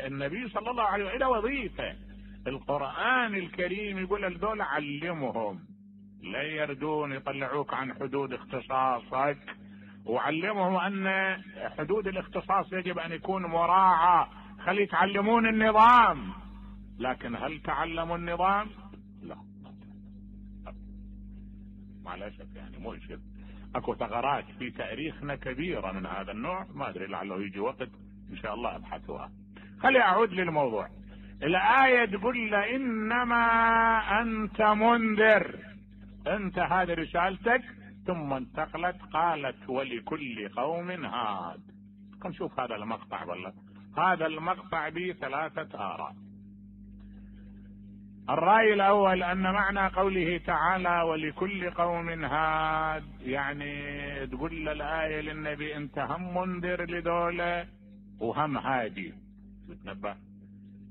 النبي صلى الله عليه وسلم له وظيفة. القرآن الكريم يقول الدول علمهم، لا يردون يطلعوك عن حدود اختصاصك، وعلمهم ان حدود الاختصاص يجب ان يكون مراعى. خلي يتعلمون النظام، لكن هل تعلموا النظام؟ لا، مع الاسف يعني مؤسف. اكو ثغرات في تاريخنا كبيرة من هذا النوع، ما ادري لعله يجي وقت ان شاء الله ابحثها. خلي اعود للموضوع. الآية تقول انما انت منذر، انت هذه رسالتك. ثم انتقلت قالت ولكل قوم هاد. نشوف هذا المقطع. والله هذا المقطع به 3 آراء. الرأي الأول أن معنى قوله تعالى ولكل قوم هاد يعني تقول الآية للنبي أنت هم منذر لدولة وهم هادي. تتنبه،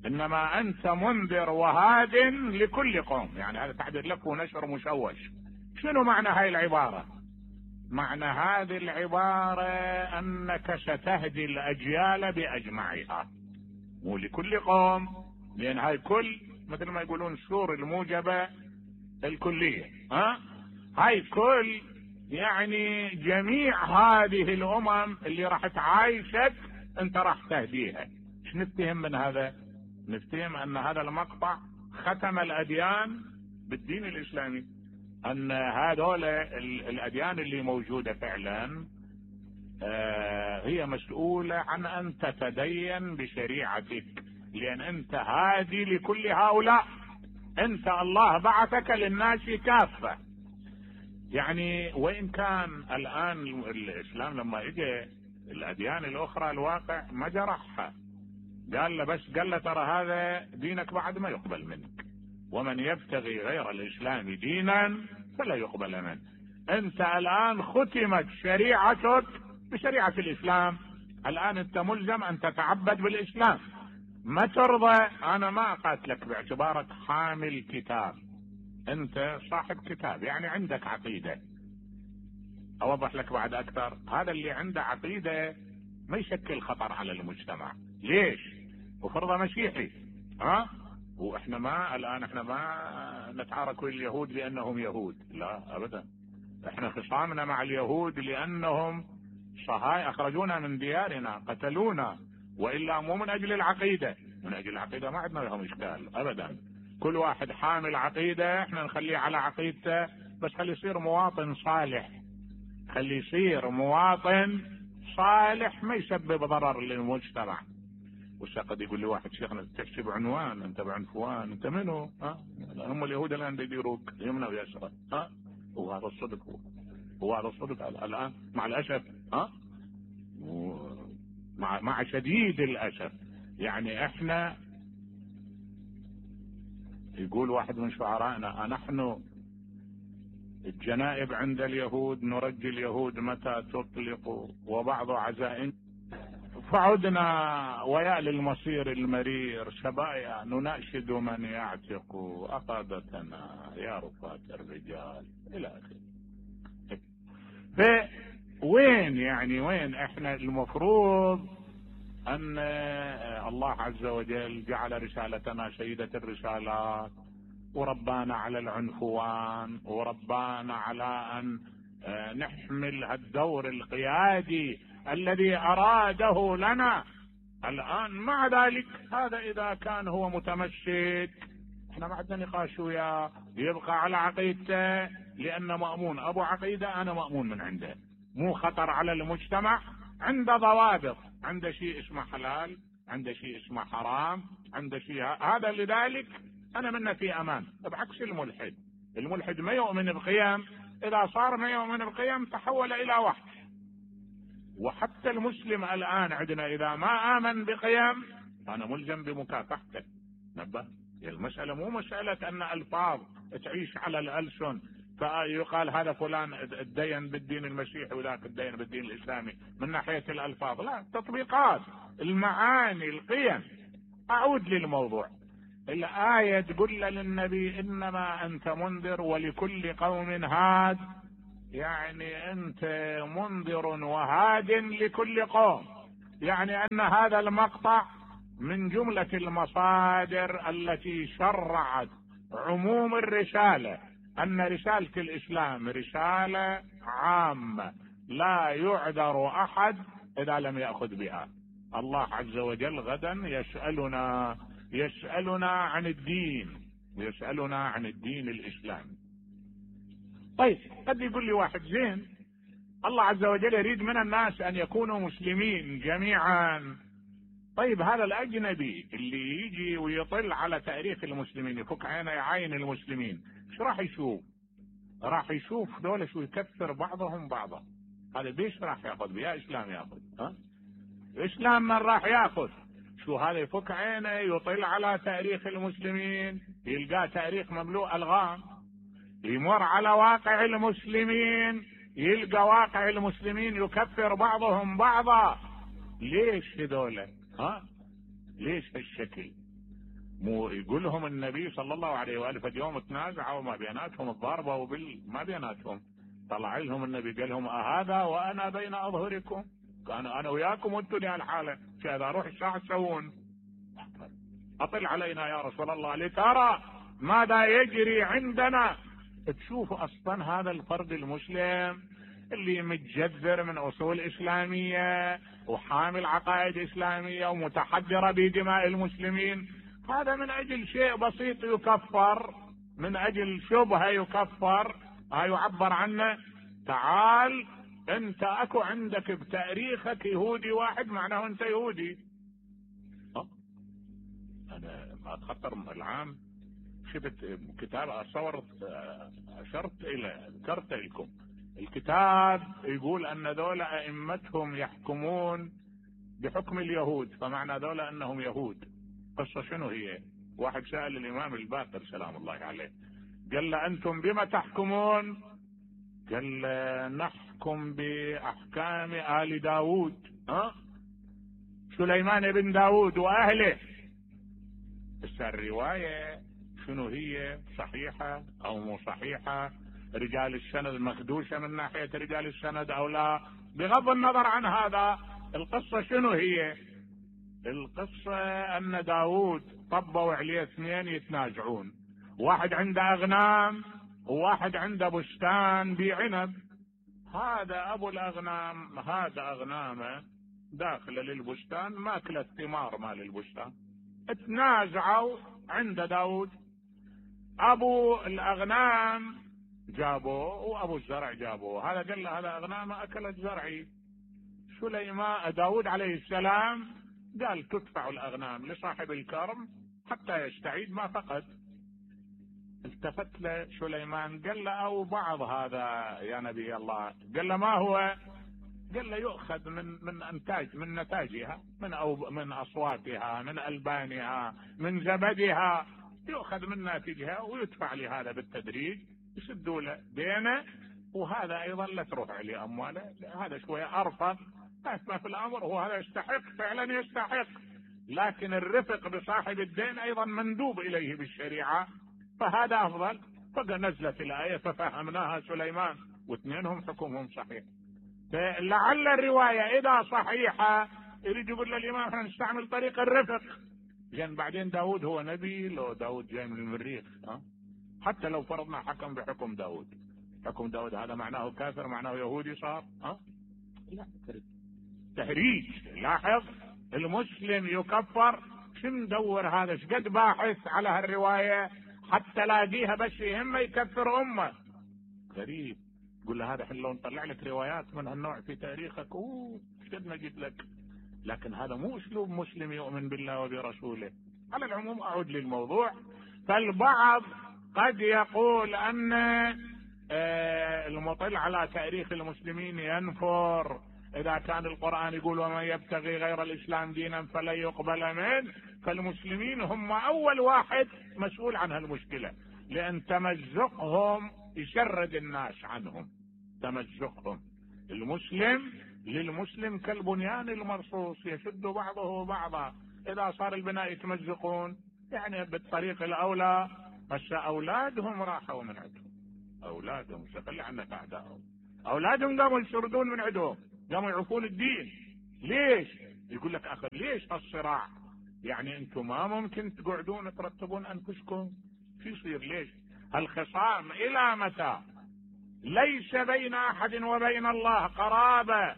إنما أنت منذر وهاد لكل قوم، يعني هذا تعبير لك ونشر مشوش. شنو معنى هاي العبارة؟ معنى هذه العبارة أنك ستهدي الأجيال بأجمعها، مو لكل قوم، لأن هاي كل مثل ما يقولون السور الموجبة الكلية. هاي كل يعني جميع هذه الأمم اللي راح تعايشك أنت راح تهديها. ايش نفتهم من هذا؟ نفتهم أن هذا المقطع ختم الأديان بالدين الإسلامي، أن هذول الأديان اللي موجودة فعلا هي مسؤولة عن أن تتدين بشريعتك، لأن أنت هادي لكل هؤلاء. أنت الله بعثك للناس كافة. يعني وإن كان الآن الإسلام لما إجى الأديان الأخرى الواقع ما جرحها، قال له بس قال له ترى هذا دينك بعد ما يقبل منك، ومن يبتغي غير الإسلام دينا فلا يقبل منه. أنت الآن ختمت شريعتك بشريعة الإسلام، الآن أنت ملزم أن تتعبد بالإسلام. ما ترضى أنا ما أقاتلك باعتبارك حامل كتاب، أنت صاحب كتاب يعني عندك عقيدة. أوضح لك بعد أكثر، هذا اللي عنده عقيدة ما يشكل خطر على المجتمع. ليش؟ وفرضه مسيحي واحنا ما نتعارك ويا اليهود لأنهم يهود، لا أبدا. احنا خصامنا مع اليهود لأنهم صهاي أخرجونا من ديارنا، قتلونا، وإلا مو من أجل العقيدة. من أجل العقيدة ما عندنا لهم إشكال أبدا. كل واحد حامل عقيدة احنا نخليه على عقيدته، بس خليه يصير مواطن صالح، خليه يصير مواطن صالح ما يسبب ضرر للمجتمع. قد يقول لي واحد شيخنا تحكي بعنوان، انت بعنفوان، انت منو؟ هم اليهود الان بيديروك يمنى ويسرى. وهذا الصدق، هو هذا الصدق الان مع الاسف. مع شديد الاسف. يعني احنا يقول واحد من شعرائنا نحن الجنائب عند اليهود نرجي اليهود متى تطلق، وبعض عزائم فعدنا ويا للمصير المرير شبايا نناشد من يعتق أقادتنا يا رفاة الرجال إلى آخره. فوين يعني وين احنا المفروض أن الله عز وجل جعل رسالتنا سيدة الرسالات، وربانا على العنفوان، وربانا على أن نحمل الدور القيادي الذي أراده لنا. الآن مع ذلك هذا إذا كان هو متمسك احنا ما عندنا نقاش وياه، يبقى على عقيدته لأنه مأمون أبو عقيدة، أنا مأمون من عنده، مو خطر على المجتمع، عنده ضوابط، عنده شيء اسمه حلال، عنده شيء اسمه حرام، عنده شيء هذا. لذلك أنا منه في أمان. بعكس الملحد، الملحد ما يؤمن بقيم، إذا صار ما يؤمن بقيم تحول إلى وحش. وحتى المسلم الآن عندنا إذا ما آمن بقيم أنا ملزم بمكافحته. نبه، المسألة مو مسألة أن ألفاظ تعيش على الألسن فيقال هذا فلان الدين بالدين المسيحي وذاك الدين بالدين الإسلامي من ناحية الألفاظ، لا، تطبيقات المعاني القيم. أعود للموضوع. الآية تقول للنبي إنما أنت منذر ولكل قوم هاد، يعني أنت منذر وهاد لكل قوم. يعني أن هذا المقطع من جملة المصادر التي شرعت عموم الرسالة، أن رسالة الإسلام رسالة عامة لا يعذر أحد إذا لم يأخذ بها. الله عز وجل غدا يسألنا عن الدين، ويسألنا عن الدين الإسلامي. طيب قد يقول لي واحد زين، الله عز وجل يريد من الناس أن يكونوا مسلمين جميعا. طيب هذا الأجنبي اللي يجي ويطل على تاريخ المسلمين، يفك عينه يعاين المسلمين، ايش راح يشوف؟ راح يشوف دولة شو يكفر بعضهم بعضا. هذا بيش راح ياخذ بيا إسلام؟ ياخذ إسلام من راح ياخذ؟ شو هذا يفك عينه يطل على تاريخ المسلمين، يلقى تاريخ مملوء ألغام، يمر على واقع المسلمين يلقى واقع المسلمين يكفر بعضهم بعضا. ليش هذول؟ ليش هالشكل؟ مو يقول لهم النبي صلى الله عليه وآله في يوم تنازعوا ما بيناتهم الضربة ما بيناتهم، طلع لهم النبي قال لهم أهذا وأنا بين أظهركم، كان أنا وياكم وأنتم لهالحالة، كذا روح الشاع تسوون؟ أطل علينا يا رسول الله لترى ماذا يجري عندنا. تشوف أصلا هذا الفرد المسلم اللي متجذر من أصول إسلامية وحامل عقائد إسلامية ومتحجر بدماء المسلمين، هذا من أجل شيء بسيط يكفر، من أجل شبهة يكفر، يعبر عنه تعال أنت أكو عندك بتاريخك يهودي واحد معناه أنت يهودي. أنا ما أتخطر العام شفت كتاب ذكرت لكم الكتاب يقول أن ذولا أئمتهم يحكمون بحكم اليهود، فمعنى ذولا أنهم يهود. قصة شنو هي؟ واحد سأل الإمام الباقر سلام الله عليه، قال له أنتم بما تحكمون؟ قال له نحكم بأحكام آل داود، سليمان بن داود وأهله. بس الرواية شنو هي؟ صحيحة أو مو صحيحة؟ رجال السند مخدوشة من ناحية رجال السند أو لا؟ بغض النظر عن هذا، القصة شنو هي؟ القصة أن داود طبوا عليه اثنين يتنازعون، واحد عنده أغنام وواحد عنده بستان بعنب. هذا أبو الأغنام هذا أغنامه داخل للبستان ماكل الثمار مال البستان، اتنازعوا عند داود. أبو الأغنام جابوه وأبو الزرع جابوه، هذا قال له هذا أغنام أكلت زرعي. سليمان داود عليه السلام قال تدفع الأغنام لصاحب الكرم حتى يستعيد ما فقد. التفت له سليمان قال له أو بعض هذا يا نبي الله؟ قال له ما هو؟ قال له يؤخذ من نتاجها، من أصواتها، من ألبانها، من زبدها، يؤخذ من ناتجها ويدفع لهذا بالتدريج، يسدوا له دينه، وهذا أيضا لا تروح عليه أمواله، هذا شوية أرفق ما في الأمر، هو هذا يستحق فعلا يستحق، لكن الرفق بصاحب الدين أيضا مندوب إليه بالشريعة، فهذا أفضل. فنزلت الآية ففهمناها سليمان، واثنينهم حكمهم صحيح. فلعل الرواية إذا صحيحة يريد يقول للإمام احنا نستعمل طريق الرفق. لأن بعدين داود هو نبي؟ لو داود جاي من المريخ، حتى لو فرضنا حكم بحكم داود، حكم داود هذا معناه كافر، معناه يهودي صار؟ لا، تهريج. لاحظ المسلم يكفر، شو ندور هذا؟ شقد باحث على هالرواية حتى لاقيها بس يهمه يكفر أمه. غريب. قل له هذا حلو نطلع لك روايات من هالنوع في تاريخك، شقد نجد لك. لكن هذا مو اسلوب مسلم يؤمن بالله وبرسوله. على العموم اعود للموضوع. فالبعض قد يقول ان المطل على تاريخ المسلمين ينفر اذا كان القرآن يقول ومن يبتغي غير الاسلام دينا فلن يقبل منه، فالمسلمين هم اول واحد مسؤول عن هالمشكلة، لان تمزقهم يشرد الناس عنهم. تمزقهم المسلم للمسلم كالبنيان المرصوص يشد بعضه بعضا، اذا صار البناء يتمزقون يعني بالطريق الاولى. بس اولادهم راحوا من عندهم، اولادهم خلي عنك اعدائهم، اولادهم قاموا يشردون من عندهم، قاموا يعرفون الدين. ليش؟ يقول لك اخر ليش هالصراع؟ يعني انتم ما ممكن تقعدون ترتبون انفسكم؟ في يصير ليش هالخصام الى متى؟ ليس بين احد وبين الله قرابة.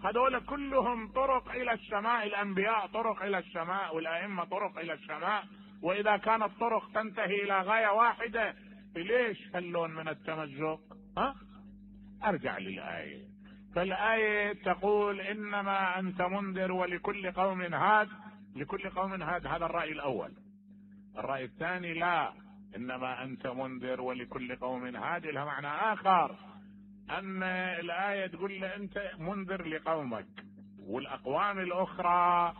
هذول كلهم طرق الى السماء، الانبياء طرق الى السماء، والائمة طرق الى السماء، واذا كانت طرق تنتهي الى غاية واحدة ليش هاللون من التمزق؟ ارجع للآية. فالآية تقول انما انت منذر ولكل قوم هاد. لكل قوم هاد، هذا الرأي الاول. الرأي الثاني لا، انما انت منذر ولكل قوم هاد لها معنى اخر، ان الآية تقول له انت منذر لقومك، والاقوام الاخرى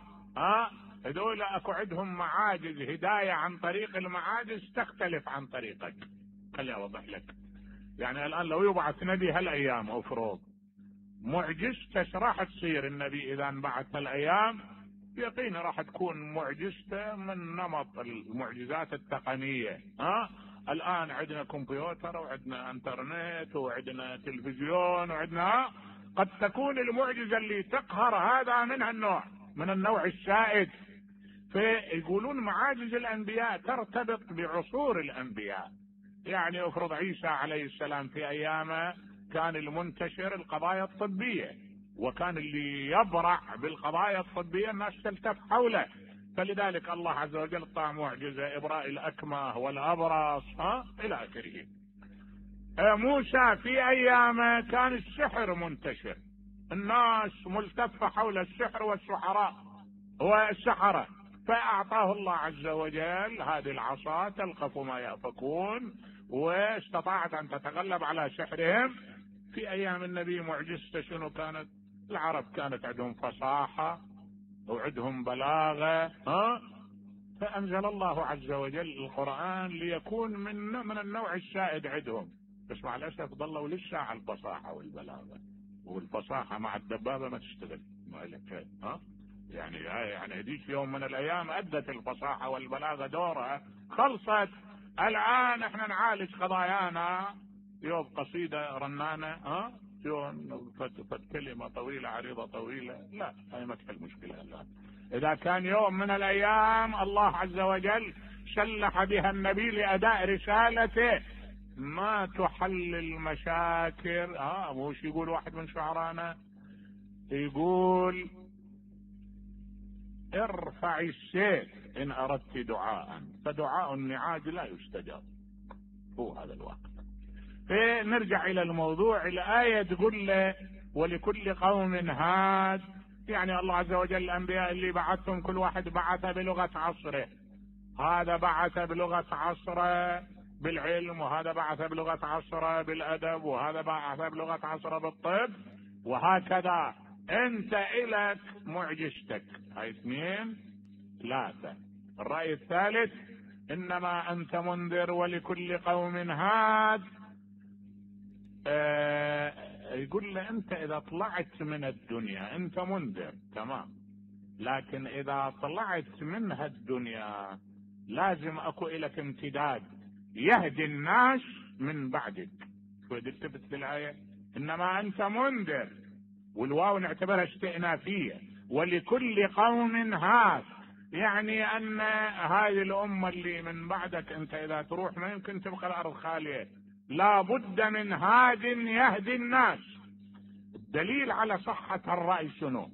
هذول اكو عندهم معاجز هداية عن طريق المعاجز تختلف عن طريقك. خليني اوضح لك. يعني الان لو يبعث نبي هالايام افرض معجزته راح تصير النبي اذا انبعث هالايام يقين راح تكون معجزته من نمط المعجزات التقنية. الان عندنا كمبيوتر وعندنا انترنت وعندنا تلفزيون وعندنا قد تكون المعجزة اللي تقهر هذا من النوع السائد. فيقولون معاجز الانبياء ترتبط بعصور الانبياء. يعني افرض عيسى عليه السلام في ايامه كان المنتشر القضايا الطبية، وكان اللي يبرع بالقضايا الطبية الناس تلتف حوله، فلذلك الله عز وجل طاع معجزة ابراء الاكمه والابرص الى اخره. موسى في ايامه كان السحر منتشر، الناس ملتفة حول السحر والسحراء والسحرة، فاعطاه الله عز وجل هذه العصا تلقف ما يأفكون، واستطاعت ان تتغلب على سحرهم. في ايام النبي معجزته شنو كانت؟ العرب كانت عندهم فصاحة وعندهم بلاغة، فانزل الله عز وجل القرآن ليكون من النوع السائد عندهم. بس مع الاسف ضلوا لسه على الفصاحة والبلاغة، والفصاحة مع الدبابة ما تشتغل. يعني هذيك يوم من الايام ادت الفصاحة والبلاغة دورها، خلصت. الان احنا نعالج قضايانا يوم قصيدة رنانة يوم كلمة طويلة عريضة طويلة، لا هاي ما تحل مشكلة. الان اذا كان يوم من الايام الله عز وجل سلح بها النبي لاداء رسالته ما تحل المشاكل. مش يقول واحد من شعرانا يقول ارفع السيف ان اردت دعاء، فدعاء النعاج لا يستجاب. هو هذا الوقت. فنرجع الى الموضوع. الآية تقول له ولكل قوم هاد، يعني الله عز وجل الانبياء اللي بعثهم كل واحد بعث بلغة عصره. هذا بعث بلغة عصره بالعلم، وهذا بعث بلغة عصره بالادب، وهذا بعث بلغة عصره بالطب، وهكذا. انت الك معجزتك. هاي 2 3. الرأي الثالث انما انت منذر ولكل قوم هاد. يقول له انت اذا طلعت من الدنيا انت منذر تمام، لكن اذا طلعت منها الدنيا لازم اكو الك امتداد يهدي الناس من بعدك. شو تثبت بالآية؟ انما انت منذر، والواو نعتبرها استئنافية، ولكل قوم هاد، يعني ان هذه الامة اللي من بعدك انت اذا تروح ما يمكن تبقى الارض خالية، لا بد من هاد يهدي الناس. الدليل على صحة الرأي شنو؟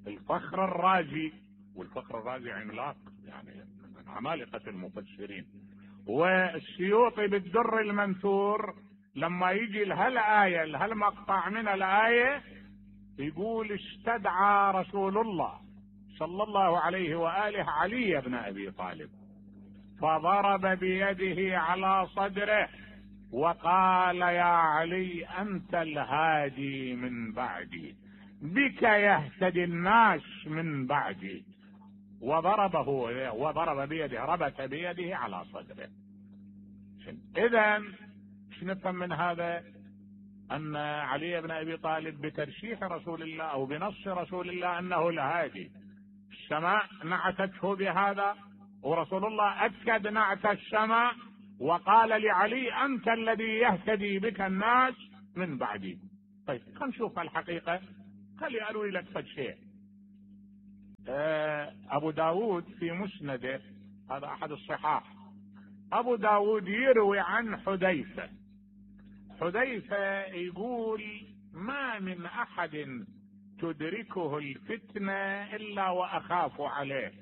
الفخر الرازي، والفخر الرازي عملاق يعني من عمالقة المفسرين، والسيوطي بالدر المنثور لما يجي لهالآية لهالمقطع من الآية يقول استدعى رسول الله صلى الله عليه وآله علي بن أبي طالب فضرب بيده على صدره وقال يا علي أنت الهادي من بعدي، بك يهتدي الناس من بعدي. وضرب بيده، ربط بيده على صدره. إذن ايش نفهم من هذا؟ أن علي بن أبي طالب بترشيح رسول الله أو بنص رسول الله أنه الهادي، السماء نعتته بهذا، ورسول الله أكد نعت السماء وقال لعلي أنت الذي يهتدي بك الناس من بعدي. طيب خلينا نشوف الحقيقة. خلي أروي لك فد شيء. ابو داود في مسنده، هذا احد الصحاح، ابو داود يروي عن حذيفة يقول: ما من احد تدركه الفتنة الا واخاف عليه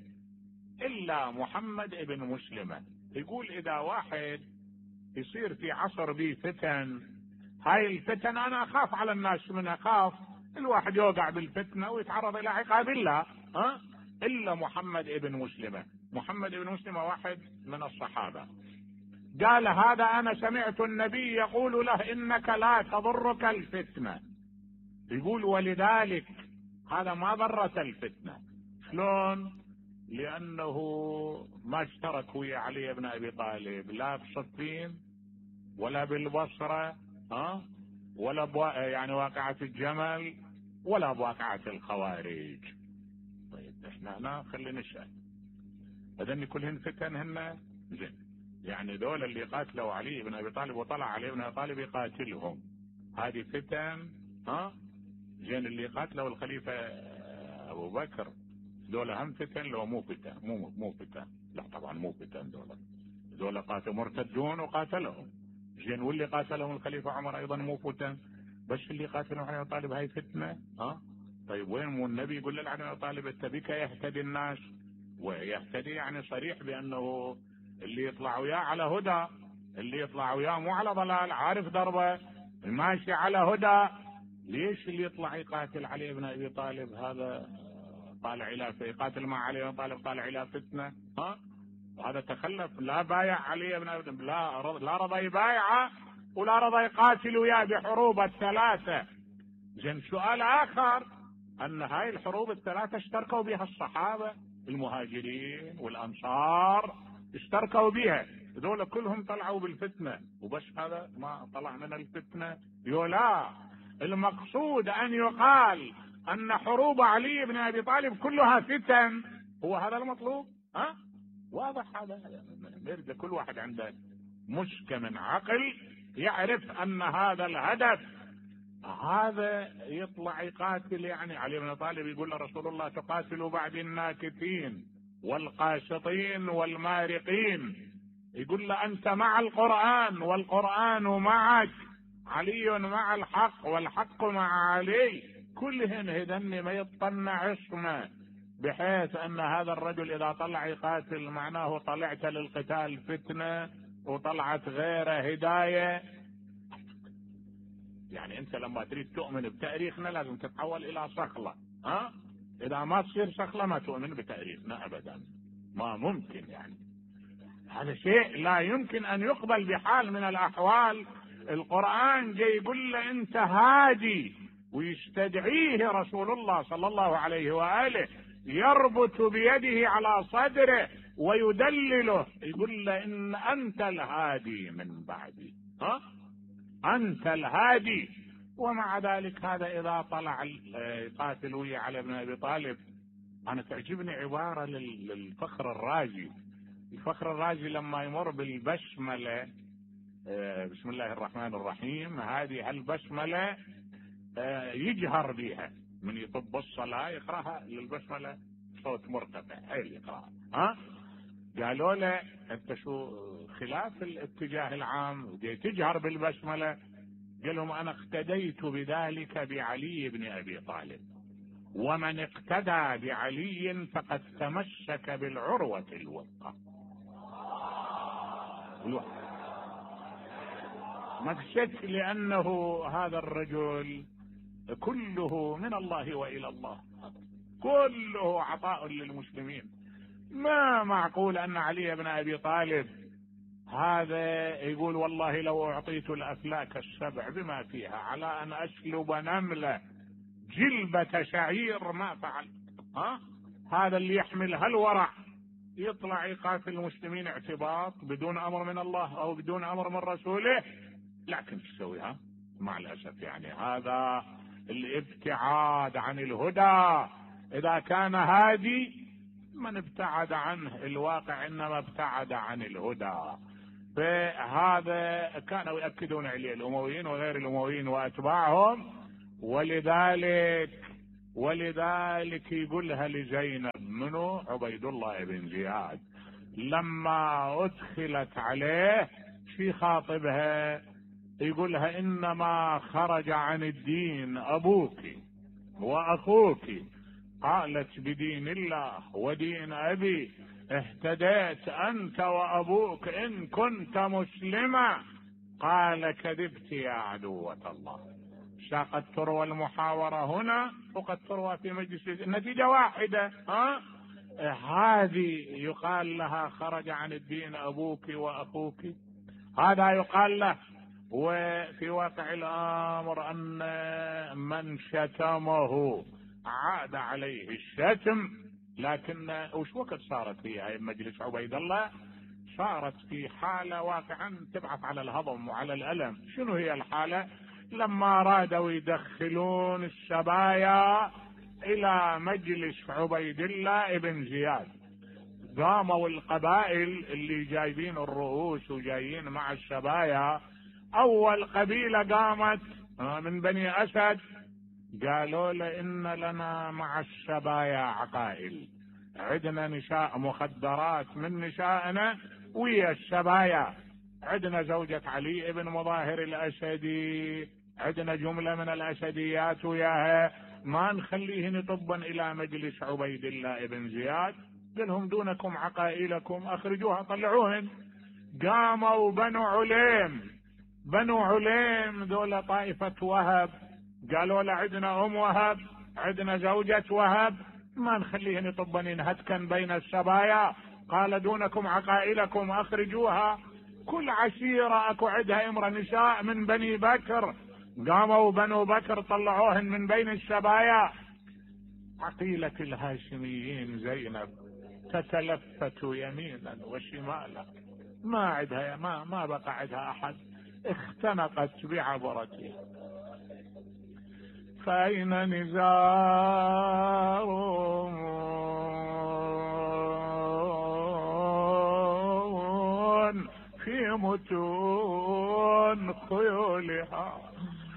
الا محمد ابن مسلمة. يقول اذا واحد يصير في عصر به فتن، هاي الفتن انا اخاف على الناس منها، اخاف الواحد يوقع بالفتنة ويتعرض الى عقاب الله، الا محمد ابن مسلمة. محمد ابن مسلمة واحد من الصحابة، قال: هذا انا سمعت النبي يقول له انك لا تضرك الفتنة. يقول: ولذلك هذا ما ضرت الفتنة. شلون؟ لانه ما اشترك ويا علي بن ابي طالب لا بصفين ولا بالبصرة، ولا يعني واقعة الجمل ولا بواقعة الخوارج. طيب احنا هنا خلينا نسأل، هذن كلهن فتن هن زين، يعني دول اللي قاتلوا علي بن ابي طالب وطلع علي بن ابي طالب يقاتلهم، هذه فتن، زين اللي قاتلوا الخليفة ابو بكر دول هم فتن لو مو فتن؟ مو فتن، لا طبعا مو فتن، دول قاتلوا مرتدون وقاتلهم. زين واللي قاتلهم الخليفة عمر ايضا مو فتن، بس اللي قاتلهم علي بن ابي طالب هاي فتنة. طيب وين مو النبي يقول لعلي بن ابي طالب: اتبك يهتدي الناس، ويهتدي يعني صريح بانه اللي يطلع وياه على هدى، اللي يطلع وياه مو على ضلال، عارف دربه، ماشي على هدى. ليش اللي يطلع يقاتل علي بن ابي طالب هذا طالع الى يقاتل مع علي بن ابي طالب طالع الى فتنه؟ وهذا تخلف، لا بايع علي بن ابي طالب، لا رضى يبايعه ولا رضى يقاتل وياه بحروب الثلاثه. زين سؤال اخر، ان هاي الحروب الثلاثه اشتركوا بها الصحابه المهاجرين والانصار، اشتركوا بها، هذول كلهم طلعوا بالفتنه، وبس هذا ما طلع من الفتنه. لا، المقصود ان يقال ان حروب علي بن ابي طالب كلها فتن، هو هذا المطلوب. واضح هذا، يرجع كل واحد عنده مشكة من عقل يعرف ان هذا الهدف، هذا يطلع يقاتل. يعني علي بن طالب يقول لرسول الله: تقاتل بعد الناكثين والقاشطين والمارقين. يقول له: انت مع القرآن والقرآن معك، علي مع الحق والحق مع علي، كلهن هذن ما يطلع اسمه، بحيث ان هذا الرجل اذا طلع يقاتل معناه طلعت للقتال فتنة وطلعت غيره هداية. يعني انت لما تريد تؤمن بتاريخنا لازم تتحول الى صخلة، اذا ما تصير صخلة ما تؤمن بتاريخنا ابدا، ما ممكن. يعني هذا شيء لا يمكن ان يقبل بحال من الاحوال. القرآن جاي يقول له انت هادي، ويستدعيه رسول الله صلى الله عليه وآله، يربط بيده على صدره ويدلله، يقول له ان انت الهادي من بعدي، انت الهادي. ومع ذلك هذا اذا طلع يقاتل ويا علي بن ابي طالب. انا تعجبني عبارة للفخر الرازي. الفخر الرازي لما يمر بالبسملة، بسم الله الرحمن الرحيم، هذه البسملة يجهر بها، من يطب الصلاة يقرأها للبسملة صوت مرتفع، هاي يقرأها. قالوا له: انت شو خلاف الاتجاه العام تجهر بالبسملة؟ قال لهم: انا اقتديت بذلك بعلي بن ابي طالب، ومن اقتدى بعلي فقد تمسك بالعروة الوثقى. مكشت، لانه هذا الرجل كله من الله والى الله، كله عطاء للمسلمين. ما معقول ان علي بن ابي طالب هذا يقول: والله لو اعطيت الافلاك السبع بما فيها على ان اسلب نملة جلبة شعير ما فعل. هذا اللي يحمل هالورع يطلع يقاتل المسلمين اعتباط بدون امر من الله او بدون امر من رسوله. لكن تسويها مع الاسف، يعني هذا الابتعاد عن الهدى. اذا كان هادي من ابتعد عنه الواقع انما ابتعد عن الهدى. فهذا كانوا يؤكدون عليه الامويين وغير الامويين واتباعهم، ولذلك يقولها لزينب، منو؟ عبيد الله بن زياد، لما ادخلت عليه في خاطبها يقولها انما خرج عن الدين ابوك واخوك. قالت بدين الله ودين ابي اهتديت انت وابوك ان كنت مسلما. قال كذبت يا عدوة الله. قد تروى المحاورة هنا وقد تروى في مجلس، النتيجة واحدة. هذه يقال لها خرج عن الدين ابوك واخوك، هذا يقال له. وفي واقع الامر ان من شتمه عاد عليه الشتم. لكن وش وقت صارت هي مجلس عبيد الله؟ صارت في حالة واقعا تبعث على الهضم وعلى الألم. شنو هي الحالة؟ لما رادوا يدخلون السبايا إلى مجلس عبيد الله بن زياد، قاموا القبائل اللي جايبين الرؤوس وجايين مع السبايا. أول قبيلة قامت من بني أسد، قالوا له إن لنا مع السبايا عقائل، عندنا نساء مخدرات من نسائنا ويا السبايا، عندنا زوجة علي بن مظاهر الأسدي، عندنا جملة من الأسديات وياها، ما نخليهن طبا إلى مجلس عبيد الله بن زياد. قالهم دونكم عقائلكم اخرجوها طلعوهن. قاموا بنو عليم دول طائفة وهب، قالوا له عندنا وهب، عندنا زوجة وهب، ما نخليهن طبا هتكا بين السبايا. قال دونكم عقائلكم اخرجوها. كل عشيرة اكو عندها امرأة نساء من بني بكر، قاموا بنو بكر طلعوهن من بين السبايا. عقيلة الهاشميين زينب تتلفت يمينا وشمالا، ما عندها ما بقى عندها احد، اختنقت بعبرتها. فأين نزار في متون خيولها